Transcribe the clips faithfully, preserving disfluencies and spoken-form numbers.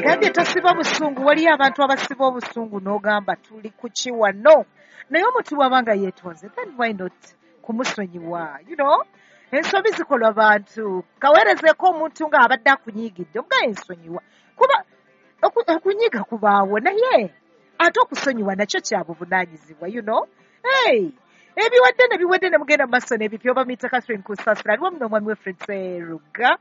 Agambye tosiba busungu. Waliyo abantu abasiba obusungu n'ogamba tuli kuki wano, naye omuntu bw'aba nga yeetonze, then why not kumusonyiwa? You know, ensobi zikolwa bantu. Kaweerezeeko omuntu ng'abadde akunyiigidde, omugaye ensonyiwa, kuba okunyiiga kubaawo, naye ate okusonyiwa nakyo kya buvunaanyizibwa, you know. Hey, ebiwadde ne biwedde ne mugenda mu maaso n'ebipya. Bamuyita Catherine Kusasira, aliwo muno omwami we Fred Seruga,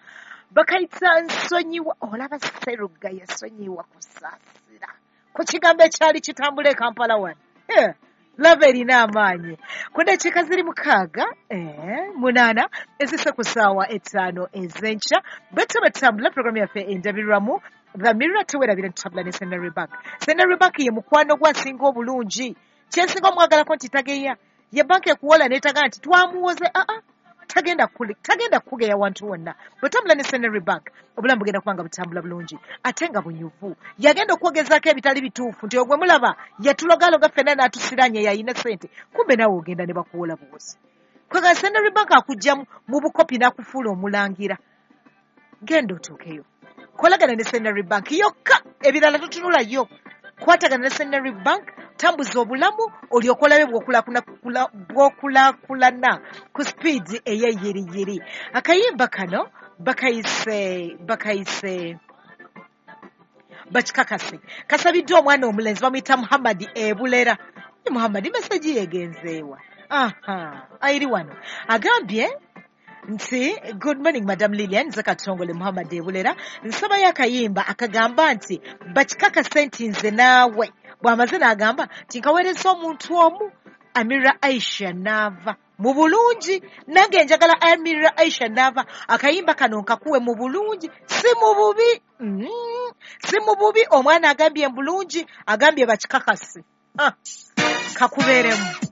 bakayita nsonyiwa. Olaba Seruga yasonyiwa Kusaasira ku kigambo ekyali kitambula e Kampala wano. Eh, lava erina amaanyi. Ku ddakiika ziri mukaaga eh, munaana ezise ku ssaawa etaano ez'enkya, bwe tuba tutambula programu yaffe endabirwamu The Mirror. Tewerabira tutambula ne Centenary Bank. Centenary Bank ye mukwano gwasinga obulungi. Kyensinga omwagalako nti tageya. Ye banka ekuwola n'etaga nti twamuwoze. Aa, tagenda tagenda kukugeya wantu wonna. Bwetambula ne Centenary Bank, obulamu bugenda kuba nga butambula bulungi ate nga bunyuvu. Yagenda okwogezaako ebitali bituufu nti ogwe mulaba yatulogaloga ffenna n'atusiranye, yayina ssente, kumbe naawe ogenda ne bakuwola buwozi. Kwega Centenary Bank akujja mu bukopi n'akufuula omulangira. Genda otuukeyo, kolagana ne Centenary Bank yokka, ebirala totunulayo. Kwatagana ne Centenary Bank, tambuza obulamu olyoke olabe bw'okulaakulana ku sipiidi ey'eyiriyiri. Akayimba kano bakayise bakayise bakikakase, kasabiddwa omwana omulenzi bamuyita Muhammadi Ebulera. Muhammadi meseji yegenzeewa? Aha, ayiri wano. Agambye nti good morning Madam Lilian, nze Katongole Muhammad Ebulera, nsabayo akayimba akagamba nti bakikakase nti nze naawe. Bw'amaze n'agamba nti nkaweereza omuntu omu, Amira Aisha Naava, mu bulungi. Nange njagala Amira Aisha Naava akayimba kano nkakuwe mu bulungi, si mu bubi. Mm, si mu bubi. Omwana agambye mu bulungi, agambye bakikakase. Ah, kakubeeremu.